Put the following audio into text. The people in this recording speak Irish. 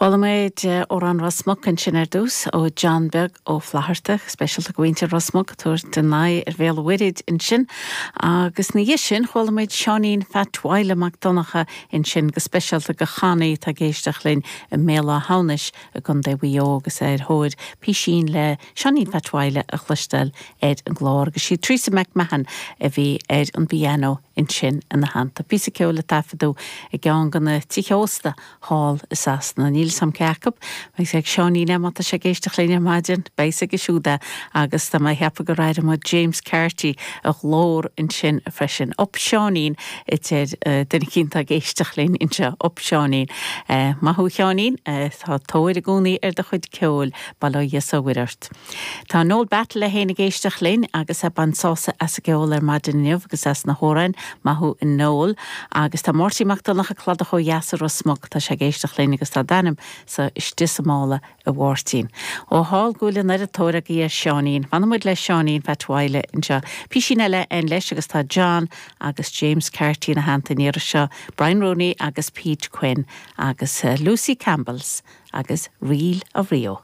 Chuala muid Amhrán Ros Muc ansin ar dtús ó John Beag Ó Flatharta, speisialta do mhuintir Ros Muc ag tabhairt a n-aghaidh ar Bhéal an Mhuirthid ansin. Agus ina dhiaidh sin chuala muid Seáinín Pheait Mhaidhle Mac Donncha ansin go speisialta do Chonnie atá ag éisteacht linn i mBéal Átha hAmhnais i gContae Mhaigh Eo agus é ar thóir písín le Seáinín Pheait Mhaidhle a chloisteáil ar an gclár agus sí Teresa McMahon a bhí ar an bpianó ansin ina theannta. Píosa ceoil a taifeadadh i gceann de na tithe ósta thall i Sasana. Níl 'fhios a'm cé acu. Beidh 'fhios ag Seáinín é má tá sé ag éisteacht linn ar maidin. Beidh 'fhios aige siúd é agus tá mé ag ceapadh gur airigh muid James Carty a ghlór ansin freisin. Up Seáinín a deir duine eicínt atá ag éisteacht linn anseo. Up Seáinín. Maith thú a Sheáinín. Tá tóir i gcónaí ar do chuid ceoil. Bail ó Dhia 's ó Mhuire ort. Tá Noel Battle é féin ag éisteacht linn agus ag baint sásamh as an gceol ar maidin inniu agus as na hamhráin. Maith thú a Noel. Agus tá Máirtín Mac Donncha Cladach ó dheas i Ros Muc, tá sé ag éisteacht linn agus tá d'ainm sa istigh sa mála a Mháirtín. Ó thall go bhfuil an oiread tóir agaibh ar Sheáinín. Fanfaidh muid le Seáinín Pheait Mhaidhle anseo. Písín eile againn leis agus tá John agus James Carty ina theannta an iarraidh seo, Brian Rooney agus Pete Quinn agus Lucy Campbell's agus Reel of Rio.